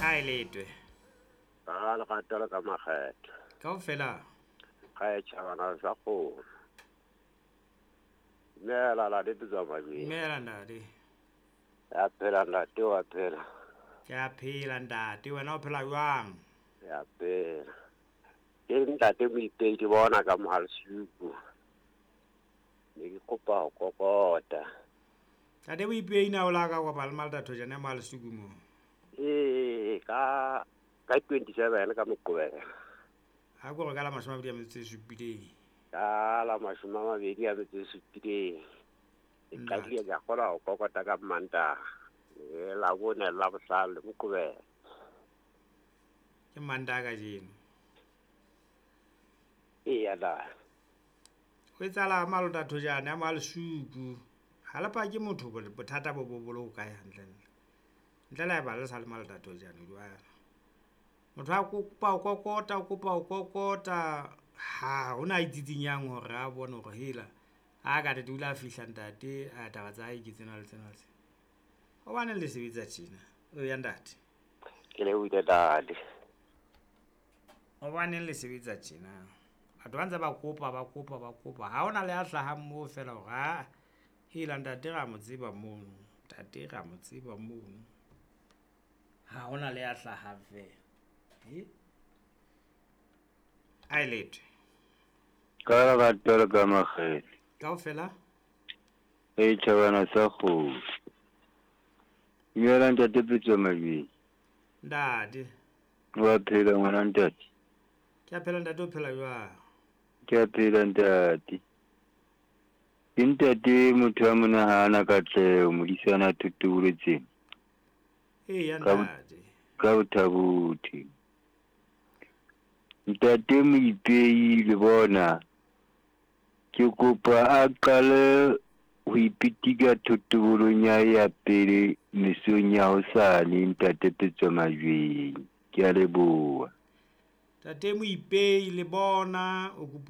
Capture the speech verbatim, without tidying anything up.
Ha e letwe. Ka lerato le ka makgetho. Kaofela. Ga e tjhabana sa kgomo. Dumela la tswa majweng. Dumela ntate. Ya phela ntate wa phela. Ke a phela ntate, wena o phela jwang? Ya phela. Ke ntate Moipei ke bona ka Mohalsuku. Ne ke kopa ho kokota. Ntate Moipei na o la ka kopa le Malta Thojane Mohalsuku mo? Ee, ka ka twenty-seven ka Moqebelo. Ha ko re ka la mashome a mabedi a metso e supileng. Ka la mashome a mabedi a metso e supileng. Ke qadile ka kgona ho kokota ka Mantaha. E la bone la bohlano le Moqebelo. Ke Mantaha kajeno. Eya la. Ho etsahala Malta Thojane a Mohalsuku. Ha le pake motho bothata bo bo bo kae hantle. Ntle le haeba le sa le Malta Thojane jwale. Motho a kopa o kokota, o kopa o kokota, ha hona itsitsinyang hore a bone hore hela a ka tete o ile a fihla ntate a taba tsa hae ke tsena le tsena le tsena. Hobaneng le sebetsa tjena? O ya ntate. Ke lebohile ntate. Hobaneng le sebetsa tjena? Batho ba ntse ba kopa, ba kopa, ba kopa. Ha hona le a hlahang moo feela hore ha hela ntate ra mo tseba mono, ntate ra mo tseba mono. Ha hona le a hlahang feela. E? A e letwe. Ka lerato le ka makgetho. Kaofela? E tjhabana sa kgomo. Dumela ntate Pitso Majweng. Ntate. Wa phela ngwana ntate? Ke a phela ntate, o phela jwang? Ke a phela ntate. Ke ntate motho a monahana katleho, modisana thotoboletseng. Eya ntate. Ka bothabothe. Ntate Moipei le bona ke kopa a qale ho ipitika thotobolong ya ya pele mesong ya hosane ntate Pitso Majweng. Ke a leboha. Ntate Moipei le bona o kopa